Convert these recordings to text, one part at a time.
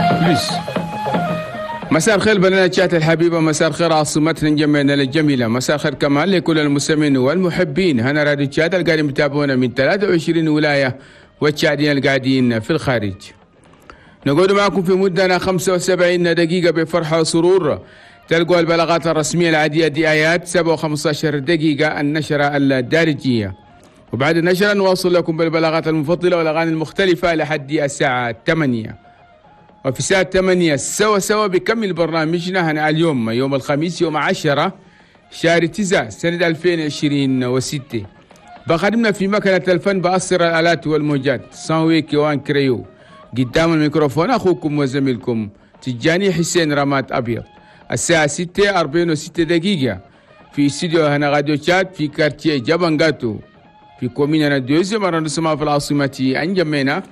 plus. مساء الخير بلدنا تشاد الحبيبة، مساء الخير عاصمتنا انجمينا الجميلة، مساء الخير كمان لكل المستمعين والمحبين هنا راديو تشاد القاعدين يتابعونا من 23 ولاية والتشاديين القاعدين في الخارج. نقعد معكم في مدة 75 دقيقة بفرحة وسرور. تلقوا البلاغات الرسمية العادية دي آيات 7:15 دقيقة النشرة الدارجية، وبعد النشرة نواصل لكم بالبلاغات المفضلة والأغاني المختلفة لحد الساعة 8. وفي الساعة 8 سوا سوا بكمل برنامجنا هنا اليوم يوم الخميس يوم 10 شهر 9 سنة 2026. بخدمنا في مكنة الفن بأسر الآلات والموجات سانوي كيوان كريو. قدام الميكروفون أخوكم وزميلكم تجاني حسين رمات أبيض. الساعة 6:46 في استوديو هنا راديو تشاد في quartier جابانغاتو في commune deuxième arrondissement في العاصمة أنجمينا.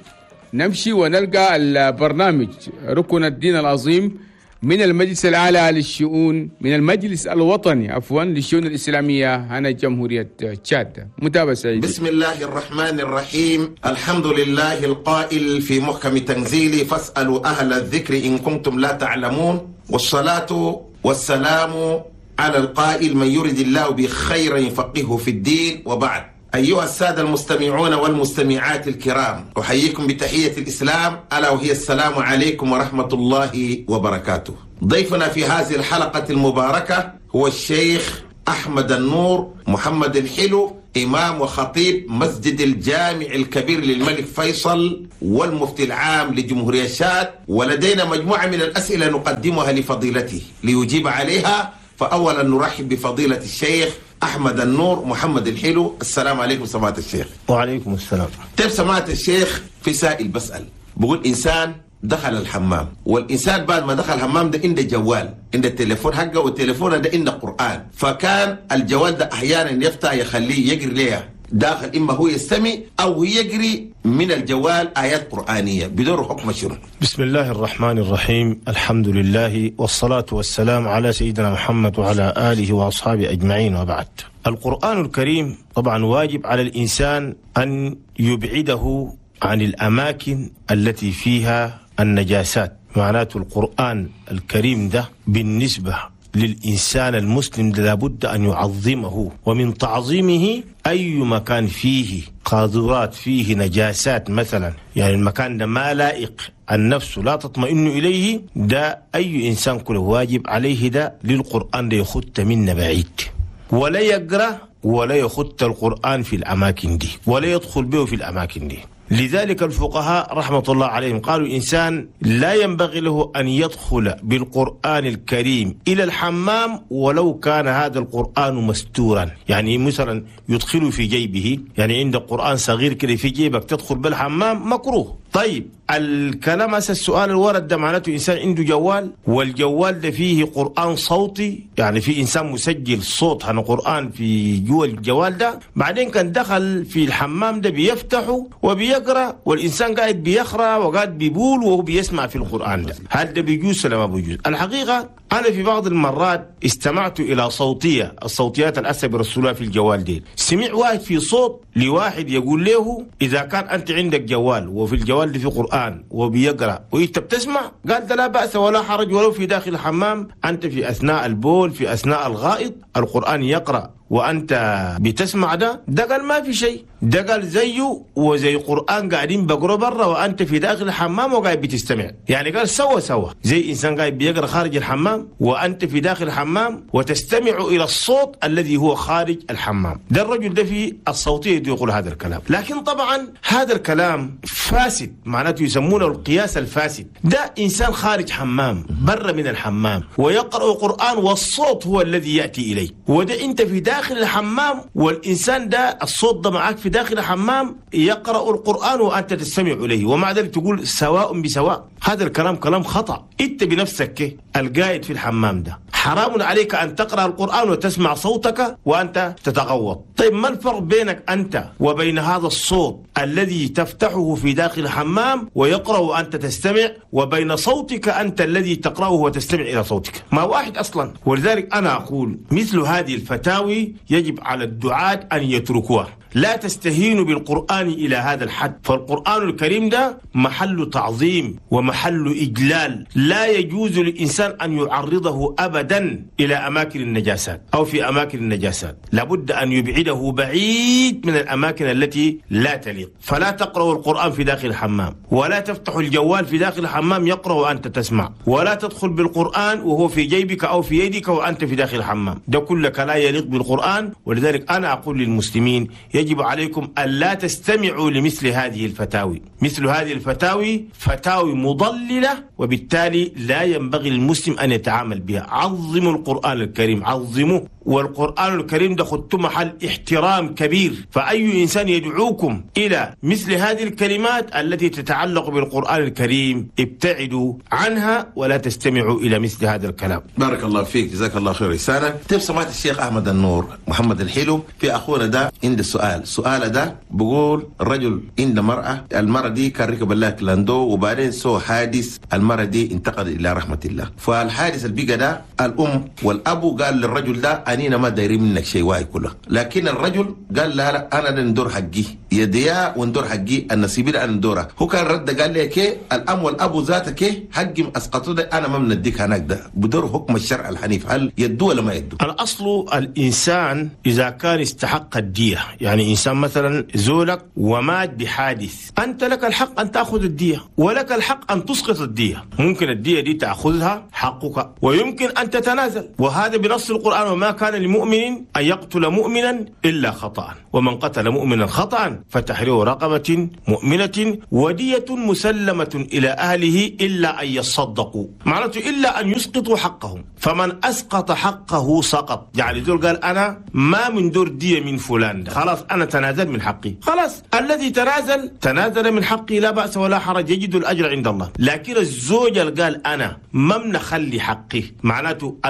نمشي ونلقى البرنامج ركن الدين العظيم من المجلس الأعلى للشؤون، من المجلس الوطني عفوا للشؤون الإسلامية هنا جمهورية تشاد. متابعة سعيدة. بسم الله الرحمن الرحيم. الحمد لله القائل في محكم تنزيله فاسألوا أهل الذكر إن كنتم لا تعلمون، والصلاة والسلام على القائل من يرد الله بخير يفقهه في الدين. وبعد، أيها السادة المستمعون والمستمعات الكرام، أحييكم بتحية الإسلام، ألا وهي السلام عليكم ورحمة الله وبركاته. ضيفنا في هذه الحلقة المباركة هو الشيخ أحمد النور محمد الحلو، إمام وخطيب مسجد الجامع الكبير للملك فيصل والمفتي العام لجمهورية تشاد، ولدينا مجموعة من الأسئلة نقدمها لفضيلته ليجيب عليها. فأولا نرحب بفضيلة الشيخ أحمد النور محمد الحلو. السلام عليكم سماحة الشيخ. وعليكم السلام. طيب سماحة الشيخ، في سائل بسأل بقول إنسان دخل الحمام، والإنسان بعد ما دخل الحمام ده عنده جوال، عنده التليفون حقه، والتليفون ده عنده قرآن، فكان الجوال ده أحيانا يفتح يخليه يقري ليه داخل، إما هو يستمع أو يقري من الجوال آيات قرآنية، بدون حكم شنو؟ بسم الله الرحمن الرحيم. الحمد لله والصلاة والسلام على سيدنا محمد وعلى آله وأصحابه أجمعين، وبعد. القرآن الكريم طبعا واجب على الإنسان أن يبعده عن الأماكن التي فيها النجاسات. معناته القرآن الكريم ده بالنسبة للإنسان المسلم لابد أن يعظمه، ومن تعظيمه أي مكان فيه قاذورات، فيه نجاسات مثلا، يعني المكان ده ما لائق، النفس لا تطمئن إليه، ده أي إنسان كله واجب عليه ده للقرآن ده يخط منا بعيد، ولا يقرأ ولا يخط القرآن في الأماكن دي، ولا يدخل به في الأماكن دي. لذلك الفقهاء رحمة الله عليهم قالوا إنسان لا ينبغي له أن يدخل بالقرآن الكريم إلى الحمام ولو كان هذا القرآن مستورا، يعني مثلا يدخله في جيبه، يعني عند قرآن صغير كده في جيبك تدخل بالحمام مكروه. طيب الكلام هسه السؤال الورد ده معناته إنسان عنده جوال، والجوال ده فيه قرآن صوتي، يعني في إنسان مسجل صوت عن قرآن في جوا الجوال ده، بعدين كان دخل في الحمام ده بيفتحه وبيقرأ، والإنسان قاعد بيقرأ وقاعد بيبول وهو بيسمع في القرآن ده، هل ده بيجوز ولا ما بيجوز؟ الحقيقة أنا في بعض المرات استمعت إلى صوتية، الصوتيات الأسى برسولها في الجوال دي، سمع واحد في صوت لواحد يقول له إذا كان أنت عندك جوال وفي الجوال ده في قرآن وبيقرأ وإنت بتسمع، قال ده لا بأس ولا حرج ولو في داخل الحمام، أنت في أثناء البول في أثناء الغائط القرآن يقرأ وأنت بتسمع، ده قال ما في شيء، ده قال زيه وزي قرآن قاعدين بقرأ برا وأنت في داخل الحمام وقاعد بتستمع، يعني قال سوا سوا زي إنسان قاعد بيقرأ خارج الحمام وأنت في داخل الحمام وتستمع إلى الصوت الذي هو خارج الحمام. ده الرجل ده في الصوتية يقول هذا الكلام، لكن طبعا هذا الكلام فاسد، معناته يسمونه القياس الفاسد. ده إنسان خارج حمام برا من الحمام ويقرأ قرآن والصوت هو الذي يأتي إليه، وده أنت في داخل الحمام والإنسان ده الصوت ده معك في داخل الحمام يقرأ القرآن وأنت تستمع إليه، ومع ذلك تقول سواء بسواء. هذا الكلام كلام خطأ. أنت بنفسك القاعد في الحمام ده حرام عليك أن تقرأ القرآن وتسمع صوتك وأنت تتغوط. طيب ما الفرق بينك أنت وبين هذا الصوت الذي تفتحه في داخل الحمام ويقرأ وأنت تستمع، وبين صوتك أنت الذي تقرأه وتستمع إلى صوتك؟ ما واحد أصلا. ولذلك أنا أقول مثل هذه الفتاوي يجب على الدعاة أن يتركوها، لا تستهينوا بالقرآن إلى هذا الحد. فالقرآن الكريم ده محل تعظيم ومحل إجلال، لا يجوز للإنسان أن يعرضه أبدا إلى أماكن النجاسات أو في أماكن النجاسات، لابد أن يبعده بعيد من الأماكن التي لا تليق. فلا تقرأوا القرآن في داخل الحمام، ولا تفتحوا الجوال في داخل الحمام يقرأ وأنت تسمع، ولا تدخل بالقرآن وهو في جيبك أو في يدك وأنت في داخل الحمام، ده كلك لا يليق بالقرآن. ولذلك أنا أقول للمسلمين يجب عليكم ألا تستمعوا لمثل هذه الفتاوي، مثل هذه الفتاوي فتاوي مضللة، وبالتالي لا ينبغي للمسلم أن يتعامل بها. عظموا القرآن الكريم، عظموه، والقرآن الكريم ده خدتم محل احترام كبير. فأي إنسان يدعوكم إلى مثل هذه الكلمات التي تتعلق بالقرآن الكريم ابتعدوا عنها ولا تستمعوا إلى مثل هذا الكلام. بارك الله فيك، جزاك الله خير رسالة. طيب سمعت الشيخ أحمد النور محمد الحلو، في أخونا ده عند السؤال، سؤال ده بقول الرجل عند مرأة، المرأة دي كان ركب الله كلاندو وبعدين سو حادث، المرأة دي انتقل إلى رحمة الله. فالحادث البيقى ده الأم والأبو قال للرجل ده أنينا ما دايرين منك شيء واي كله، لكن الرجل قال لا لا أنا ندور حقي يديا وندور حقي النصيب ده أنا ندوره. هو كان رد قال لي كي الأم والأبو ذاتك حقي أسقطوا ده أنا ما بنديك هناك، ده بدور حكم الشرع الحنيف، هل يدو ولا ما يدو؟ الأصل الإنسان إذا كان استحق الدية، يعني إنسان مثلا زولك ومات بحادث، أنت لك الحق أن تأخذ الدية ولك الحق أن تسقط الدية، ممكن الدية دي تأخذها حقك ويمكن أن تتنازل، وهذا بنص القرآن: وما كان لمؤمن أن يقتل مؤمنا إلا خطأ، ومن قتل مؤمنا خطأ فتحرير رقبة مؤمنة ودية مسلمة إلى أهله إلا أن يصدقوا، معناته إلا أن يسقطوا حقهم، فمن أسقط حقه سقط. يعني ذول قال أنا ما من دور دية من فلان ده، خلاص أنا تنازل من حقي، خلاص الذي تنازل تنازل من حقي لا بأس ولا حرج، يجد الأجر عند الله. لكن الزوج قال أنا ما منخلي حقي، معناته